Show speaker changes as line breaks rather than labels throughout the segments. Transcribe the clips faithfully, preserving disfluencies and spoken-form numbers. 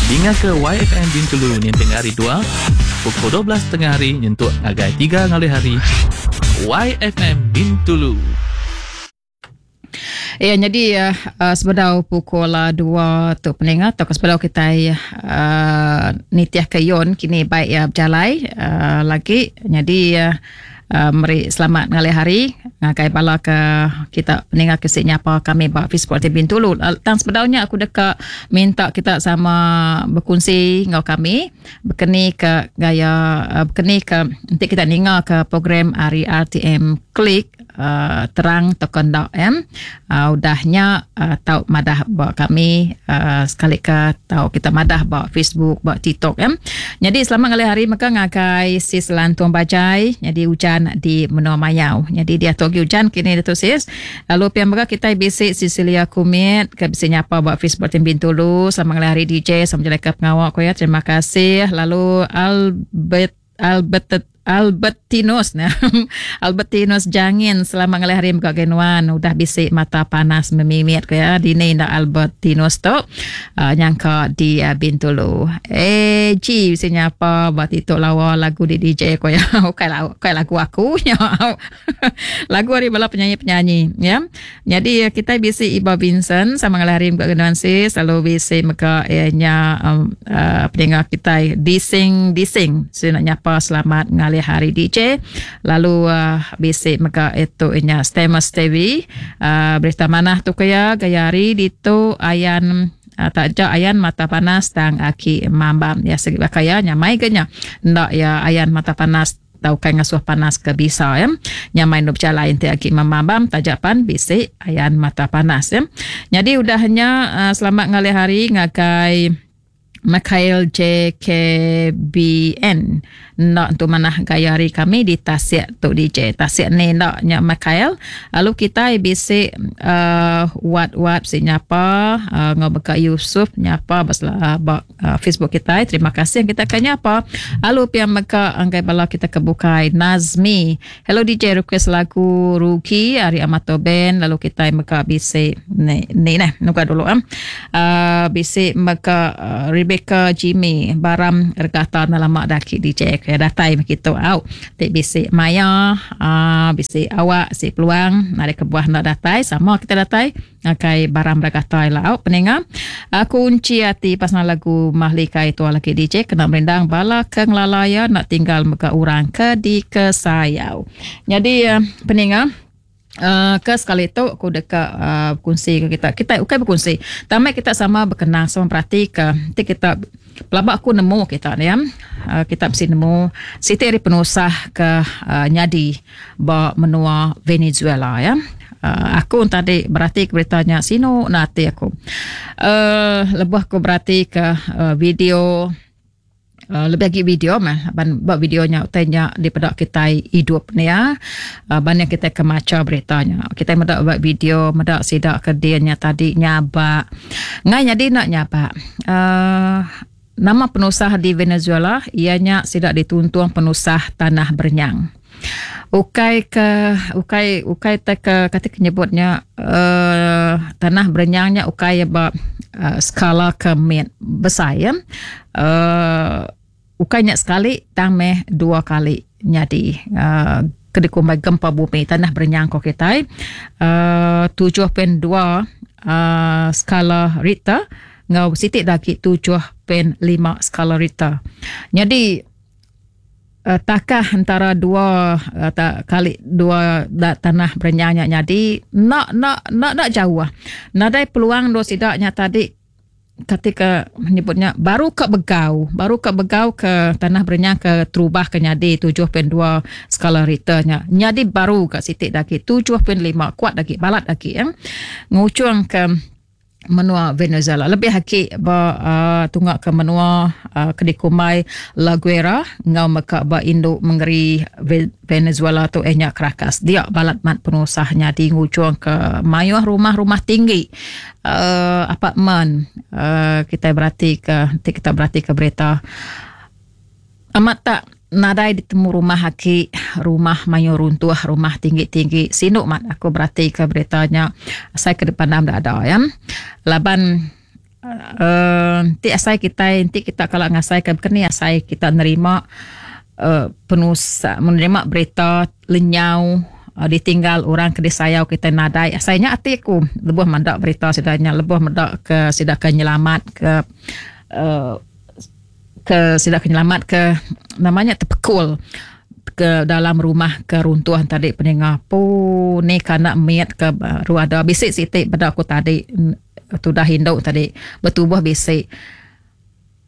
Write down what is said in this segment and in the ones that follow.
Dinga ke Y F M Bintulu ninting hari dua pukul dua belas tengah hari nyentuk ngagai tiga ngalih hari. Y F M Bintulu.
Ya, jadi uh, sebedau pukul dua tu peningat atau sebedau kita uh, nitiah ke yon kini baik ya berjalai uh, lagi. Jadi uh, uh, meri selamat ngalih hari ngagai bala ke kita peningat ke nyapa kami ba Facebook T V Bintulu. Tang sebedaunya aku deka minta kita sama berkongsi ngau kami berkeni ke gaya uh, berkeni ke nanti kita ninga ke program hari R T M Klik Uh, terang token dok em uh, udahnya uh, tau madah ba kami uh, sekali ke tau kita madah ba Facebook ba TikTok em. Jadi selamat ngalih hari maka ngagai sis Lantung Bajai jadi hujan di Menua Mayau. Jadi dia tu hujan kini dia tu sis. Lalu pian mega kita bisi Cecilia Kumit ke bisi nyapa ba Facebook Tim Bintulu. Selamat ngalih hari D J sama jelai ke pengawak ko ya. Terima kasih. Lalu Albert Albert Albertinus nah. Albertinus Jangin selamat ngalih hari mega genuan udah bisik mata panas memimit ke ya dini ndak Albertinus tu uh, nyangka di uh, Bintulu. Eh G bisi nyapa ba tituk lawa lagu di D J ko ya. Bukan lagu, bukan lagu aku nya. Lagu hari bala penyanyi-penyanyi ya. Jadi kita bisi Iba Vincent sama ngalih hari mega genuan sis lalu bisi mega nya um, uh, pendengar kita dising dising si nak nyapa selamat ngalih hari D J. Lalu uh, bisik mega itu inya Stemus T V uh, berita manah tu kaya gaya hari ditu ayan uh, tak jak ayan mata panas tang aki mambam ya segi bakaya nyamai kenya ndak ya ayan mata panas tau kai ngasuh panas ke bisa ya nyamai nu berjalan ti aki mambam tajapan bisik ayan mata panas ya. Jadi udahnya uh, selamat ngalih hari ngagai Mikhail J K B N nak untuk manah gaya hari kami di Tasik tu D J Tasik ni nak nyak Mikhail. Lalu kita bisi uh, wat-wat si nyapa uh, ngobeka Yusuf nyapa basla uh, uh, Facebook kita. Terima kasih yang kita akan nyapa. Lalu pian meka anggai bala kita kebukai Nazmi. Hello D J request lagu Ruki hari Amato Band. Lalu kita meka bisi ni ni nah nuka dulu am. Uh, bisi meka uh, Rebecca Jimmy Baram regata lama daki D J ke datai begitu au tik bisi maya uh, bisi awak si peluang ada kebuah nak datai sama kita datai ngakai Baram regata la au peninga uh, kunci hati pasal lagu Mahlika itu lagi D J kena merindang bala ke ngelalaya nak tinggal mega orang ke di kesayau. Jadi uh, peninga Uh, ke sekali tu aku dekat uh, berkongsi ke kita. Kita bukan berkongsi. Tamai kita sama berkenang sama perhati ke nanti kita pelabak aku nemu kita ni ya. Uh, kita mesti nemu siti hari penusah ke uh, nyadi ba menua Venezuela ya. Uh, aku tadi berarti ke beritanya sino nati aku. Uh, lebuh aku berarti ke uh, video Uh, lebih lagi video mah ban buat videonya utainya di pedak kita hidup ni ya. Uh, banyak kita kemaca beritanya. Kita medak buat video medak sidak ke dianya tadi nyabak. Ngai jadi nak nyabak. Uh, nama penusah di Venezuela ianya sidak dituntung penusah tanah berenyang. Ukai ke ukai ukai te ke kata kenyebutnya uh, tanah berenyangnya ukai ba uh, skala ke met besar ya. Uh, ukainya sekali tang meh dua kali nyadi uh, kedikumbai gempa bumi tanah berenyang ko kita uh, tujuh perpuluhan dua uh, skala Richter ngau sitik daki tujuh perpuluhan lima skala Richter. Jadi uh, takah antara dua uh, tak, kali dua da, tanah berenyangnya nyadi nak nak nak nak jauh. Nadai peluang do sidaknya tadi ketika menyebutnya baru ke begau, baru ke begau ke tanah berenyang ke terubah ke nyadi tujuh perpuluhan dua skala Richternya. Nyadi baru ke sitik daki tujuh perpuluhan lima kuat daki balat daki ya. Ngucung ke menua Venezuela. Lebih haki ba uh, tunggak ke menua uh, kedikumai La Guera ngau meka ba induk mengeri Venezuela tu ehnya Caracas. Dia balat mat penusahnya di ngucung ke mayuh rumah-rumah tinggi uh, apartmen uh, kita berarti ke kita berarti ke berita amat tak nadai ditemu rumah haki, rumah mayu runtuh, rumah tinggi-tinggi. Sinuk mat aku berarti ke beritanya saya ke depan dah ada ya. Laban uh, ti asai kita ti kita kalau ngasai ke keni asai kita nerima uh, penusah menerima berita lenyau uh, ditinggal orang ke disayau kita nadai asainya ati aku lebuh mendak berita sidanya lebuh mendak ke sida ke nyelamat ke uh, ke sida ke nyelamat ke namanya terpekul ke dalam rumah keruntuhan tadi peninga pu ni kana miat ke ruada bisik sitik pada aku tadi tudah induk tadi bertubuh bisik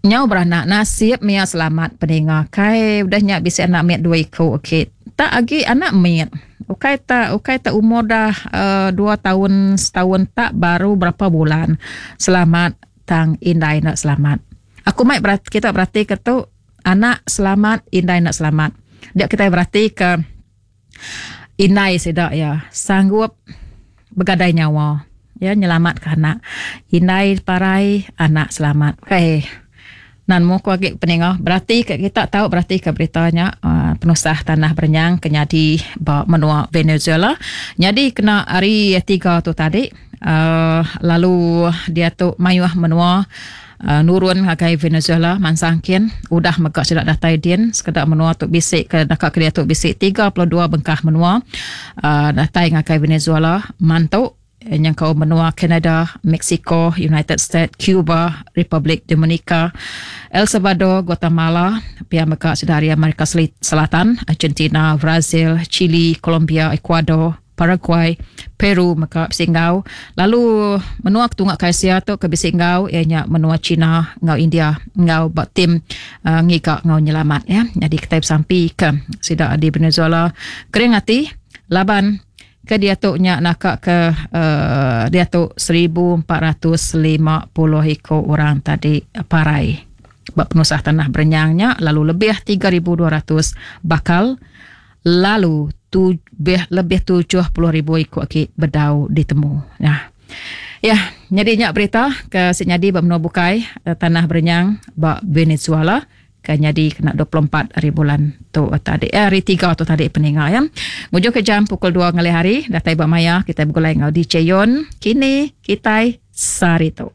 nyau beranak nasib mia selamat peninga kai udah nyak bisik anak miat dua iko okey tak agi anak miat ukai tak ukai tak umur dah uh, dua tahun setahun tak baru berapa bulan selamat tang indai nak selamat aku mai berat, kita berarti ke tu anak selamat indai nak selamat dia kita berarti ke indai sedak ya sanggup begadai nyawa ya nyelamat ke anak indai parai anak selamat okey nan mu ku agi peninga berarti ke kita tahu berarti ke beritanya uh, penusah tanah berenyang kenyadi ba menua Venezuela jadi kena hari tiga tu tadi uh, lalu dia tu mayuh menua Uh, nurun ngagai Venezuela mansangkin udah megak sudah datai din sekedar menua tu bisik ke dekat ke dia tu bisik tiga puluh dua bengkah menua uh, datai ngagai Venezuela mantu yang kau menua Canada, Mexico, United States, Cuba, Republic Dominica, El Salvador, Guatemala, pihak megak sudah dari Amerika Selatan, Argentina, Brazil, Chile, Colombia, Ecuador, Paraguay, Peru, maka Singgau. Lalu menua ketunggak Asia tu ke Singgau ianya menua China ngau India ngau bak tim uh, ngigak ngau nyelamat ya. Jadi kita sampai ke sida di Venezuela kering hati laban ke dia tu nya nakak ke uh, dia tu seribu empat ratus lima puluh iko orang tadi parai bak penusah tanah berenyangnya lalu lebih tiga ribu dua ratus bakal lalu tu lebih, lebih tujuh puluh ribu ikut ki bedau ditemu. Nah. Ya, jadi nyak berita ke senyadi bak menua bukai tanah berenyang bak Venezuela ke nyadi kena dua puluh empat hari bulan tu tadi eh, hari tiga tu tadi peninga ya. Ngujuk ke jam pukul dua ngalih hari datai bak maya kita bergulai ngau D J Yon kini kita sari tu.